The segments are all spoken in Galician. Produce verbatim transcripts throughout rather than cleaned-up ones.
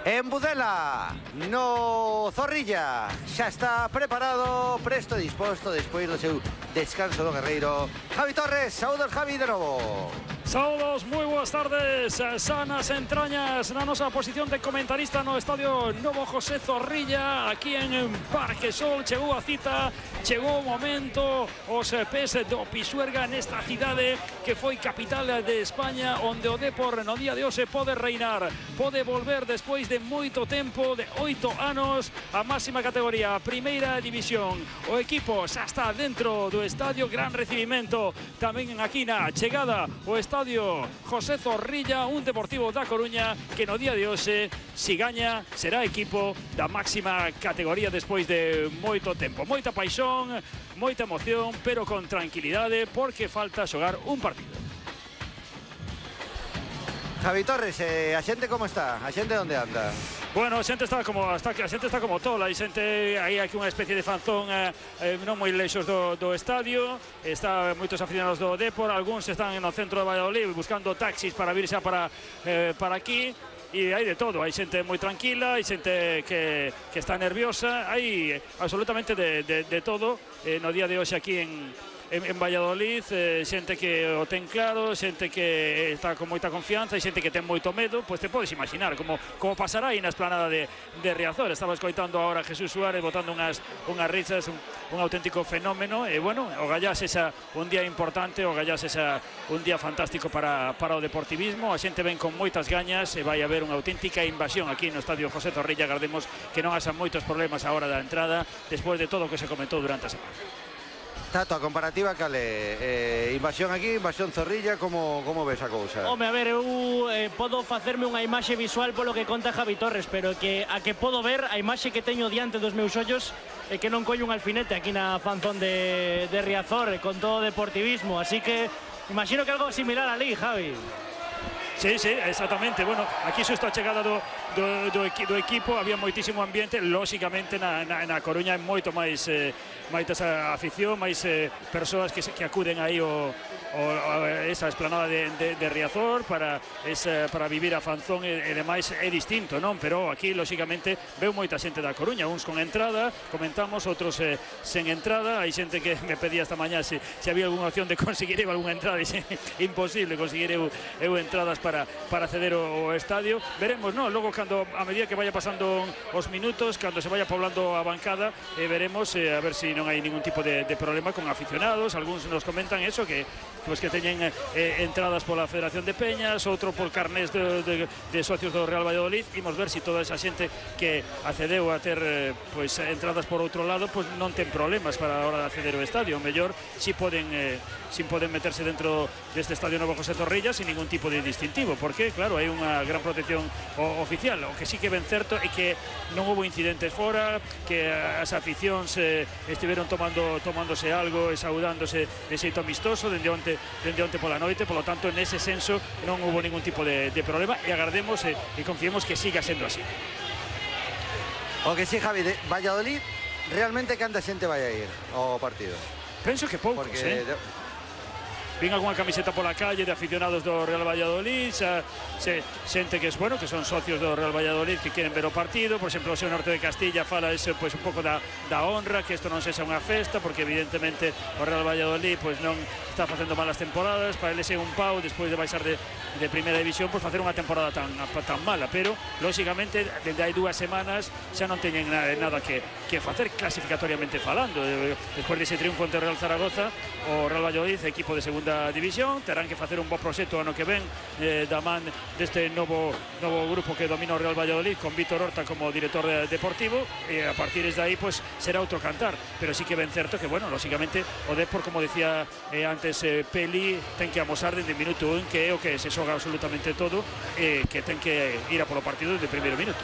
En Budela, no Zorrilla, xa está preparado, presto e disposto despois do seu descanso do guerreiro Javi Torres. Saúdos, Javi, de novo. Saúdos, moi boas tardes, sanas entrañas na nosa posición de comentarista no Estadio Novo José Zorrilla, aquí en Parque Sol. Chegou a cita, chegou o momento, os pés do Pisuerga nesta cidade que foi capital de España, onde o Depor no día de hoxe pode reinar, pode volver despois de moito tempo, de oito anos, a máxima categoría, a primeira división. O equipo xa está dentro do estadio, gran recibimento tamén aquí na chegada o estadio José Zorrilla, un Deportivo da Coruña que no día de hoxe, si gaña, será equipo da máxima categoría despois de moito tempo. Moita paixón, moita emoción, pero con tranquilidade, porque falta xogar un partido. Javi Torres, eh, a xente como está? A xente onde anda? Bueno, a xente está como está, a xente está como tola, hai xente, hai aquí unha especie de fanzón eh, eh, non moi lexos do, do estadio, está moitos aficionados do Depor, algúns están no centro de Valladolid buscando taxis para vir xa para, eh, para aquí, e hai de todo, hai xente moi tranquila, hai xente que, que está nerviosa, hai absolutamente de, de, de todo eh, no día de hoxe aquí en En, en Valladolid, eh, xente que o ten claro, xente que está con moita confianza e xente que ten moito medo, pois te podes imaginar como, como pasará aí na esplanada de, de Riazor. Estaba escoitando agora a Jesús Suárez botando unhas, unhas risas, un, un auténtico fenómeno, e bueno, o Gallás esa un día importante, o Gallás esa un día fantástico para, para o deportivismo. A xente ven con moitas gañas e vai haber unha auténtica invasión aquí no Estadio José Zorrilla. Agardemos que non haxa moitos problemas a hora da entrada despois de todo o que se comentou durante a semana. Tato, a comparativa cale, eh, invasión aquí, invasión Zorrilla, como, como ves a cousa? Home, a ver, eu eh, podo facerme unha imaxe visual polo que conta Javi Torres, pero que a que podo ver, a imaxe que teño diante dos meus ollos é que non collo un alfinete aquí na fanzón de, de Riazor, con todo o deportivismo, así que imagino que algo similar ali, Javi. Sí, sí, exactamente. Bueno, aquí xusto a chegada do, do, do, equi, do equipo había moitísimo ambiente, lóxicamente na, na, na Coruña é moito máis eh, máis afición, máis eh, persoas que, que acuden aí o, o, a esa esplanada de, de, de Riazor para, esa, para vivir a fanzón e, e demais. É distinto, non? Pero aquí, lóxicamente, veu moita xente da Coruña, uns con entrada, comentamos, outros eh, sen entrada. Hai xente que me pedía esta mañá se, se había algunha opción de conseguir eu algunha entrada, e se, imposible conseguir eu, eu entradas para Para, para acceder ao estadio. Veremos, no? Logo, cando a medida que vaya pasando os minutos, cando se vaya poblando a bancada, eh, veremos eh, a ver se si non hai ningún tipo de, de problema con aficionados. Algúns nos comentan eso, que pues, que teñen eh, entradas pola Federación de Peñas, outro por carnés de, de, de socios do Real Valladolid. Imos ver se si toda esa xente que accedeu a ter eh, pues, entradas por outro lado, pues, non ten problemas para a hora de acceder ao estadio. O mellor si poden, eh, si poden meterse dentro deste Estadio Novo José Zorrilla sin ningún tipo de distintivo, porque, claro, hai unha gran protección o, oficial. O que sí que ben certo é que non houve incidentes fora, que as aficións eh, estiveron tomando tomándose algo e saudándose de xeito amistoso dende onte, dende onte pola noite, polo tanto, nese senso non houve ningún tipo de, de problema, e agardemos e, e confiemos que siga sendo así. O que sí, Javi, de Valladolid, realmente canta xente vai a ir ao partido? Penso que poucos, porque... eh? Vin algunha camiseta pola calle de aficionados do Real Valladolid, xa, xe, xente que es bueno, que son socios do Real Valladolid que queren ver o partido. Por exemplo, o seu Norte de Castilla fala ese, pues, un pouco da, da honra, que isto non sexa unha festa, porque evidentemente o Real Valladolid pues, non está facendo malas temporadas, para eles é un pau despois de baixar de, de primeira división por facer unha temporada tan, tan mala, pero lóxicamente dende hai dúas semanas xa non teñen nada, nada que, que facer clasificatoriamente falando. Despois dese triunfo ante o Real Zaragoza, o Real Valladolid, equipo de segunda división, terán que facer un bo proxecto ano que ven eh, da man deste novo, novo grupo que domina o Real Valladolid, con Vítor Horta como director de, deportivo, e a partir de aí pues, será outro cantar, pero sí que ben certo que, bueno, lóxicamente o Depor, como decía eh, antes eh, Peli, ten que amosar desde o minuto un que é o que se xoga absolutamente todo, e eh, que ten que ir a polo partido desde o primeiro minuto.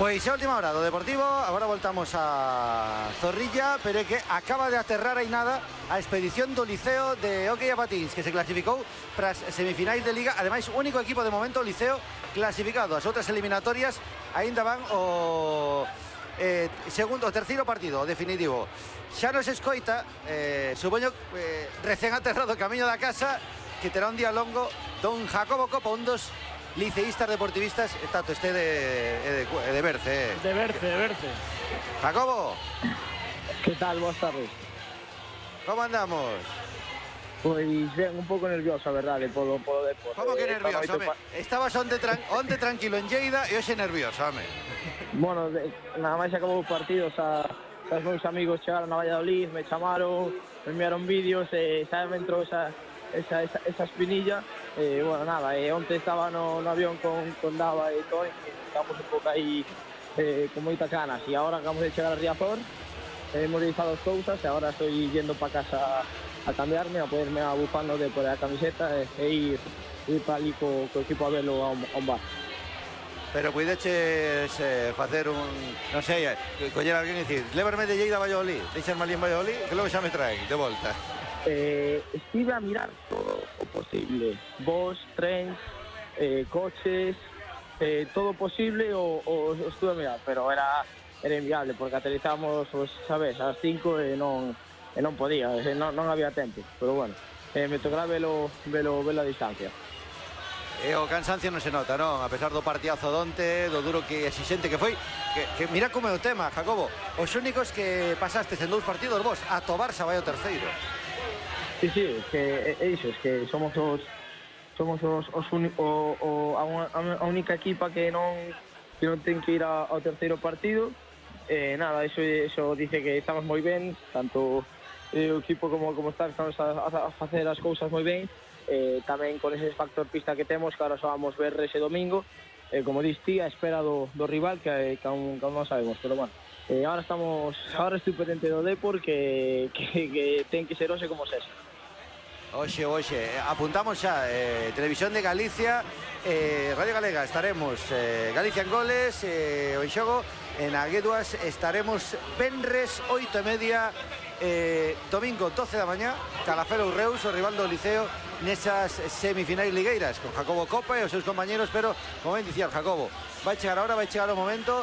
Pois a última hora do Deportivo, agora voltamos a Zorrilla, pero é que acaba de aterrar aí nada a expedición do Liceo de Hockey a Patins, que se clasificou para as semifinais de Liga. Ademais, único equipo de momento, o Liceo, clasificado. As outras eliminatorias aínda van o eh, segundo, o terceiro partido, o definitivo. Xa nos escoita, eh, supoño, eh, recén aterrado camiño da casa, que terá un día longo, don Jacobo Copa, un dos liceístas deportivistas, tanto este de, de, de Berce. Eh. De Berce, de Berce. Jacobo. Que tal? Boas tardes. Como andamos? Pois ben, un pouco nervioso, a verdade, polo, polo deporte. Como que nervioso, home? Pa... Estabas onde, tran... onde tranquilo en Lleida e hoxe nervioso, home. Bueno, de... nada máis acabou o partido, xa, xa os meus amigos chegaron a Valladolid, me chamaron, me enviaron vídeos, e xa me entrou esa, esa, esa, esa espinilla. E, bueno, nada, e onte estaba no, no avión con, con Dava e Tony, e estamos un pouco aí eh, con moitas ganas. E agora acabamos de chegar a Riazor, hemos realizado as cousas, e agora estou yendo para casa a cambiarme, a ponerme a bufando de por a camiseta e, e ir, ir para ali co, co equipo a verlo a un, a un bar. Pero puideches eh, facer un, non sei, eh, coller a alguén e dicir, levarme de Lleida a Valladolid, deixarme ali en Valladolid, que logo xa me traen de volta. Eh, estive a mirar todo o posible, vos, trens, eh, coches, eh, todo posible o, o, o estuve a mirar, pero era, era inviable, porque aterrizamos, pues, sabes, ás cinco e non... e non podía, e non, non había tempo, pero bueno, eh, me tocará velo, velo, velo a distancia. E o cansancio non se nota, non? A pesar do partidazo donte, do duro que exixente que foi, que, que mira como é o tema, Jacobo, os únicos que pasastes en dous partidos vos, a Tobarsa vai o terceiro. Sí, sí, es que é iso, es que somos os somos os, os uni, o, o, a, unha, a única equipa que non que non ten que ir a, ao terceiro partido. Eh, nada, eso, eso dice que estamos moi ben, tanto eh, o equipo como, como está, estamos a, a facer as cousas moi ben, eh, tamén con ese factor pista que temos, que ahora só vamos ver ese domingo, eh, como dis ti, a espera do, do rival que, que, aún, que aún non sabemos, pero bueno, eh, ahora estamos, ahora estoy pendiente do Depor, que, que, que ten que ser hoxe como sese. Oxe, oxe, apuntamos xa, eh, Televisión de Galicia, eh, Radio Galega, estaremos eh, Galicia en goles, eh, o en xogo, en Agueduas estaremos venres oito e media, eh, domingo doce da mañá, Calafelo Reus, o rival do Liceo nesas semifinais ligueiras, con Jacobo Copa e os seus compañeros, pero, como ben dicía Jacobo, vai chegar a hora, vai chegar o momento,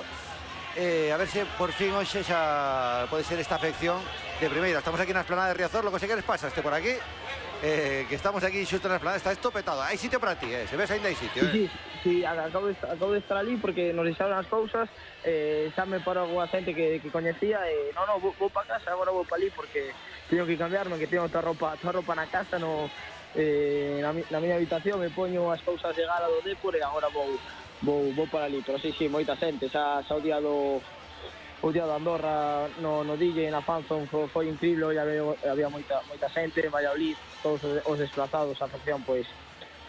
eh, a ver se por fin hoxe xa pode ser esta afección de primeira. Estamos aquí na esplanada de Riazor, lo que se queres pasaste por aquí, eh, que estamos aquí xusto na esplanada, está esto petado, hai sitio para ti, eh, se ves ainda hai sitio, eh. Sí, sí, sí, acabo de, acabo de estar ali porque nos deixaron as cousas, eh, xa me parou a xente que, que coñecía, e eh, non, non, vou, vou para casa, agora vou para ali porque teño que cambiarme, que teño toda roupa, toda roupa na casa, no, eh, na, na miña habitación, me poño as cousas de gala do Depor e agora vou, vou, vou para ali, pero sí, sí, moita xente, xa, xa o día do... O día do Andorra no, no D J, na fanzone, foi, foi incrível, e había, había moita, moita xente en Valladolid, todos os desplazados, a afición, pois,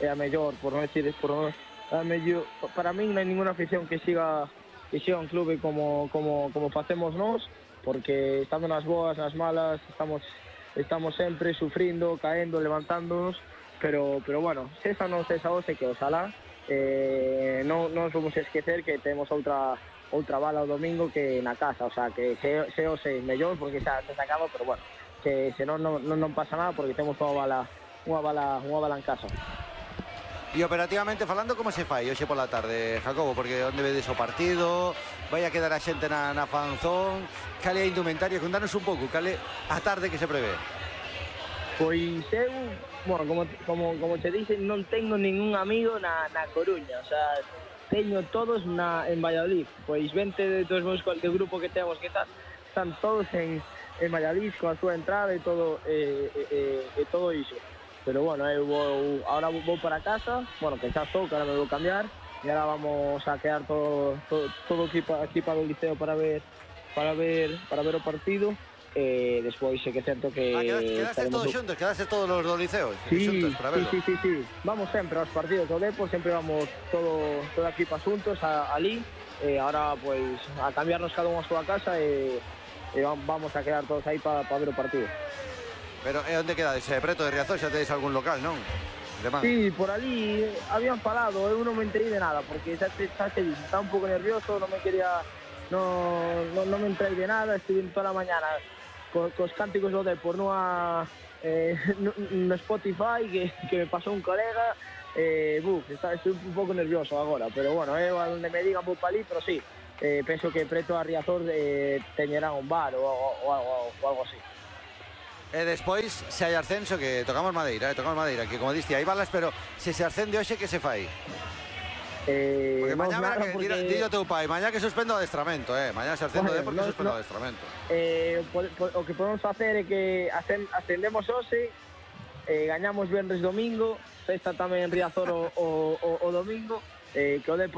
é a mellor, por non decir, por non, a mellor, para min non hai ninguna afición que siga, que siga un clube como, como, como facemos nós, porque estando nas boas, nas malas, estamos, estamos sempre sufrindo, caendo, levantándonos, pero, pero bueno, se esa non se esa hoxe, que oxalá, eh, non, non vamos a esquecer que temos outra outra bala o domingo que na casa, o sea, que se, se o sei mellor porque xa se acaba, pero bueno, que se non, non, non pasa nada porque temos unha bala, unha bala, unha bala en casa. E operativamente falando, como se fai hoxe pola tarde, Jacobo? Porque onde vedes o partido, vai a quedar a xente na, na fanzón, cale a indumentaria, contanos un pouco, cale a tarde que se prevé. Pois eu, bueno, como, como, como te dixen, non tengo ningún amigo na, na Coruña, o sea, teño todos na, en Valladolid, pois vente dos meus do grupo que temos que tal, están todos en, en Valladolid con a súa entrada e todo, e, e, e todo iso. Pero bueno, eu vou, ahora vou para casa, bueno, que xa estou, que ahora me vou cambiar, e ahora vamos a quedar todo, todo, todo equipo, equipa do Liceo para ver, para ver, para ver o partido. Eh, despois é que certo que... Ah, quedaste, quedaste todos xuntos, quedaste todos los do Liceo sí, xuntos para verlo. Sí, sí, sí, sí, vamos sempre aos partidos do Depor, sempre vamos todo, toda a equipa xuntos a, ali, e agora pois a cambiarnos cada unha a súa casa e, e vamos a quedar todos aí para pa ver o partido. Pero é onde quedades? Eh, preto de Riazor, xa tedes algún local, non? Sí, por ali habían falado, eu non me enterei de nada, porque xa te, xa te dixo, estaba un pouco nervioso, non me quería, non, non, non me enterei de nada, estive toda a mañana co, cos cánticos do Depor nunha, eh, no, no Spotify que, que me pasou un colega, eh, buf, está, estou un pouco nervioso agora, pero bueno, eu a onde me digan vou pa ali, pero sí, eh, penso que preto a Riazor eh, teñerán un bar ou, ou, ou, ou, ou algo así. E despois, se hai ascenso, que tocamos madeira, eh, tocamos madeira, que como diste, hai balas, pero se se ascende hoxe, que se fai? Eh, Porque non mañá verá nada, que porque... porque... dillo teu pai, mañá que suspendo o adestramento, eh. Mañá se ascendo Bueno, de porque no, suspendo o no. adestramento. Eh, po, po, o que podemos facer é que ascendemos hoxe, eh, gañamos venres domingo, festa tamén en Riazor o, o, o, o domingo, eh, que o Depor